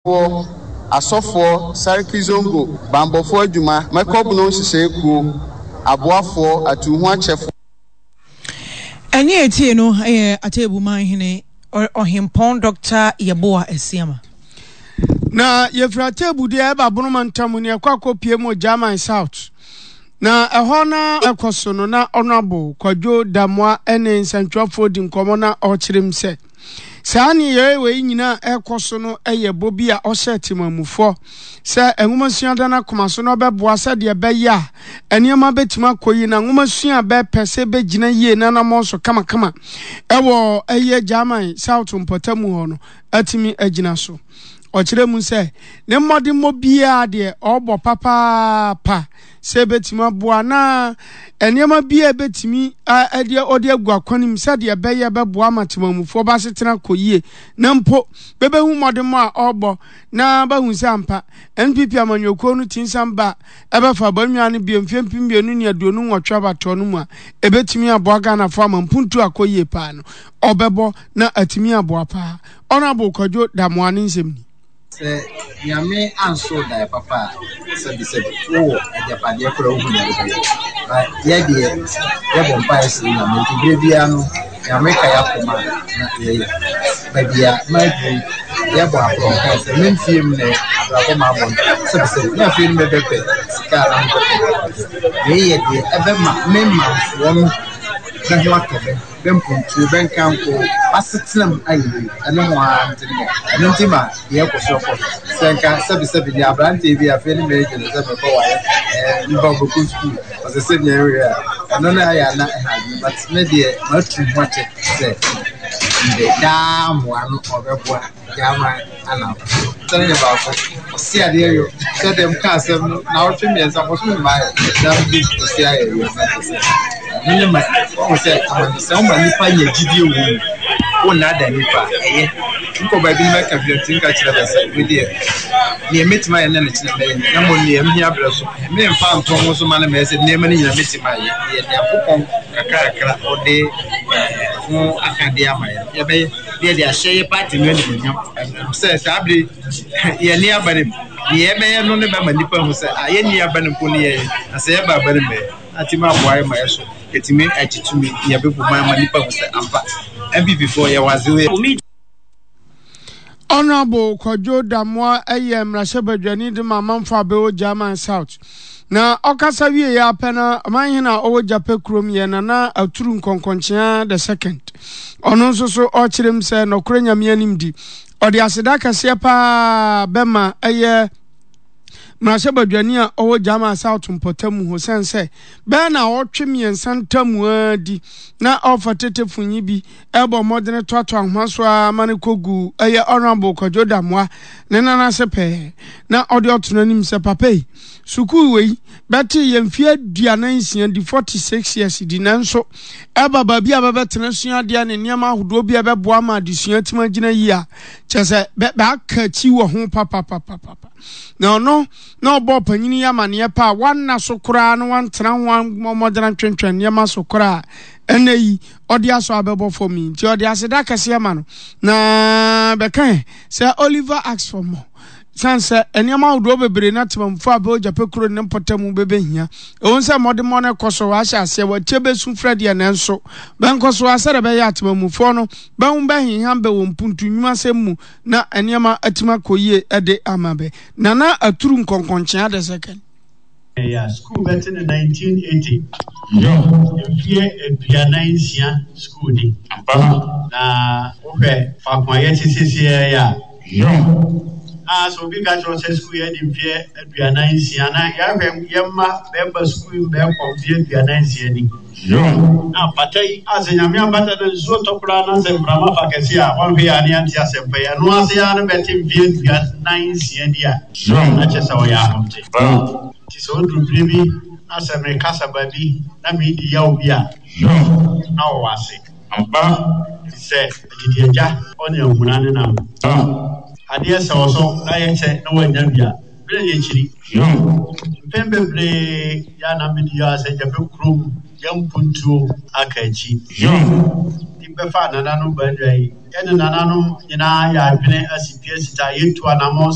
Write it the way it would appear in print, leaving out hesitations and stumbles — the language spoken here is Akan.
Foɔ, Asɔfoɔ, Sarki Zongo, Banbɔfoɔ Adwuma, Mɛkɔbono Nhyehyɛe Kuo, Aboafoɔ, Atuuhoakyɛfoɔ. Ɛnne a ɛtie no yɛ Atebuman hene Ɔhempɔn Dɔkta Yeboah Asiamah. Na yɛfiri Atebu deɛ ɛba Bonoma ntam ne ɛkɔ akɔpie mu German South. Na ɛhɔ na ɛkɔ so no na Honourable Kwadwo Damoah ne nsɛntwerɛfoɔ di nkɔmmɔ na ɔkyerɛ mu sɛ Saa nneyɛe wei nyinaa a ɛrekɔ so no yɛ bɔ bi a ɔhyɛɛ temanmufoɔ sɛ nwomasua da no akoma so na ɔbɛboa sɛdeɛ ɛbɛyɛ a nneɛma bɛtumi akɔ yie na nwomasua a bɛpɛ sɛ ɛbɛgyina yie na anammɔn so kamakama ɛwɔ ɛyɛ German South mpɔtamu hɔ no atumi agyina so. Ɔkyerɛ mu sɛ ne mmɔdemmɔ biara deɛ ɔrebɔ papaapa sɛ ebetumi aboa anaa nneɛma bi a ebetumi ɛde ɔde agu akwan mu sɛdeɛ ɛbɛyɛ bɛboa ama temamufoɔ b'asetena kɔ yie na mpo bɛbɛhu mmɔdemmɔ a ɔrebɔ na bɛhu sɛ ampa NPP amanyɔkuo no ti nsan ba a ɛbɛfa abannwa no bio mfeɛ 2028 abatoɔ no mu a ebetumi aboa Ghanafoɔ ama mpuntuo akɔ yie paa no ɔbɛbɔ na atumi aboa paa. Honourable Kwadwo Damoah ne nsɛm ni. Sɛ Nyame anso wo daeɛ papa a, sɛbi sɛbi, wowɔ agyapadeɛ koraa wohu deɛ wobɛyɛ. But yɛ deɛ, yɛbɔ mpaeɛ srɛ Nyame nti berɛ biara no, Nyame ka yɛakoma a na yɛyɛ. Baabi a maduru yi, yɛbɔ aborɔ nkae sɛ me mfie mu na abrabɔ mabɔ no, sɛbi sɛbi, na afei no mebɛpɛ sika a na mebɛpɛ agyapadeɛ. Wei yɛ deɛ ɛbɛma me manfoɔ no bɛ ho atɔ bɛ. Bɛ mpontuo, bɛ nkanko, b'asetena mu ayɛ yie. Ɛno ho ara nti no, ɛno nti ma deɛ ɛkɔ so ɛkɔ so. Sɛ nka sɛbesɛbe deɛ aberanteɛ bi afei ne mɛɛgye no sɛ mɛkɔ ware, ɛɛ meba ɔbɛkɔ sukuu, ɔsɛ sɛ deɛ ɛwɛ a, ɛno no ayɛ ana ɛha adwene. But me deɛ matu ho akyɛ sɛ mede daa mmoa no ɔbɛboa. Gyama ana sɛne yɛ baako ɔse adeɛ yɔ sɛ dɛm ka asɛm no na ɔtwe mmiɛnsa bɔsome mmaa yɛ na bi ɔse ayɛ yɔ na kyɛ sɛ ɛno ne ma ɔhu sɛ amane sɛ woma nipa nya gyidie wɔ mu wo nnaada nipa ɛyɛ nkɔ baabi no mɛka bi nti nka kyerɛ bɛ sɛ me deɛ neɛ mɛtumi ayɛ ne ne kyerɛ mɛyɛ na mmom neɛ mhia berɛ so memfa nto ho so ma no mɛyɛ sɛ nneɛma no nyina mɛtumi ayɛ deɛ Nyankopɔn kakrakra ɔde ho akadeɛ ama yɛ yɛbɛyɛ na yɛde ahyɛ yɛ party no animuonyam sɛ saa bere yɛn ni aba no mu nea yɛbɛyɛ no ne bɛma nnipa hu sɛ a yɛnni aba no mpo ne yɛyɛ na sɛ yɛba aba no mu ɛ na atumi aboa yɛ ma yɛ so yɛtumi agye tumi na yɛbɛbu man ma nnipa hu sɛ ampa NPP foɔ yɛwɔ adze wei. Honourable Kwadwo Damoah yɛ mmarahyɛbadwani de ma amanfo a bɛwɔ German South. Na ɔkasa wieeɛ ara pɛ na ɔmanhene a ɔwɔ Gyapɛ kurom yɛ Nana Aturu Nkɔnkɔnkyea the second. Ɔno nso so ɔkyerɛ mu sɛ nɔkorɛ Nyame anim di. Ɔde aseda kɛseɛ paa bɛma ɛyɛ mmarahyɛbadwani a ɔwɔ German South mpɔtam hɔ sɛn sɛ bɛyɛ naawɔtwe mmiɛnsa ntam ara di na ɔfa tetefonyi bi ɛbɔ mmɔdene toatoa nhoma so ara ma no kɔgu ɛyɛ Honourable Kwadwo Damoah ne nan ase pɛɛ na ɔde ɔto n'anim sɛ papa yi sukuu wei bɛtee yɛ mfeɛ 46 di 46 years di nanso ɛba baabi a bɛbɛtena sua adeɛ ne nneɛma ahodoɔ bi a ɛbɛboa ma adesua atumi agyina yie a kyerɛ sɛ bɛaka akyi wɔ ho papapapapa na ɔno na ɔbɔ ɔpanyin yi amaneɛ pa a wanna so koraa na wantena ho ammɔ mmɔdena ntwentwɛn nneɛma so koraa ɛnɛ yi ɔde asɔ abɛbɔ fam yi nti ɔde aseda kɛseɛ ma no na bɛka sɛ Oliver asks for more san sɛ nneɛma ahodoɔ bebree na temamufo a bɛwɔ gyapɛ kuro ne mpɔtam bɛbɛhia ɛwom sɛ mmɔdemmɔ no kɔ so wɔahyɛ aseɛ wɔatie bɛsu frɛ deɛ nanso bɛnkɔ so a sɛdeɛ ɛbɛyɛ a temamufoɔ no bɛho bɛhenham bɛ wɔ mpuntu nnwumasɛm mu na nneɛma atumi akɔ yie de ama bɛ Nana Aturu Nkɔnkɔnkyea the second. Yɛ sukuu bɛte no 1980. Mfeɛ 46 sukuu ni. Na wohwɛ faako a yɛte seesei yi a, na sɛ obi ka kyerɛ wo sɛ sukuu yɛadi mfeɛ 46 na yɛahwɛ yɛn mma bɛba sukuu yi bɛkɔ mfeɛ 46 ni. Na pata yi, a sɛ Nyame ampata na nsuo tɔ koraa na sɛ mframa fa kɛse a, wɔnhwɛ yɛ a ne yɛnte asɛmpa yi. Ɛno ase ara no bɛte mfeɛ 46 ni a, na kyerɛ sɛ ɔyɛ ahomte. Nti sɛ ɔduru bere bi na sɛ mekasa baabi na meredi yaw bi a, na ɔwɔ ase. Te sɛ adidiagya ɔne ahuna ne nam. Adeɛ sɛ ɔsɔ na yɛkyɛ na wannya bi a, berɛ yɛ kyiri. Mpɛn bebree yɛ a na medi yaw sɛ gya bɛ kurom yɛn mpuntuo aka akyi. Nti bɛfaa nananom baanua yi, yɛne nananom nyinaa yɛ adwene asi pi asi ta, yɛtu anamɔn.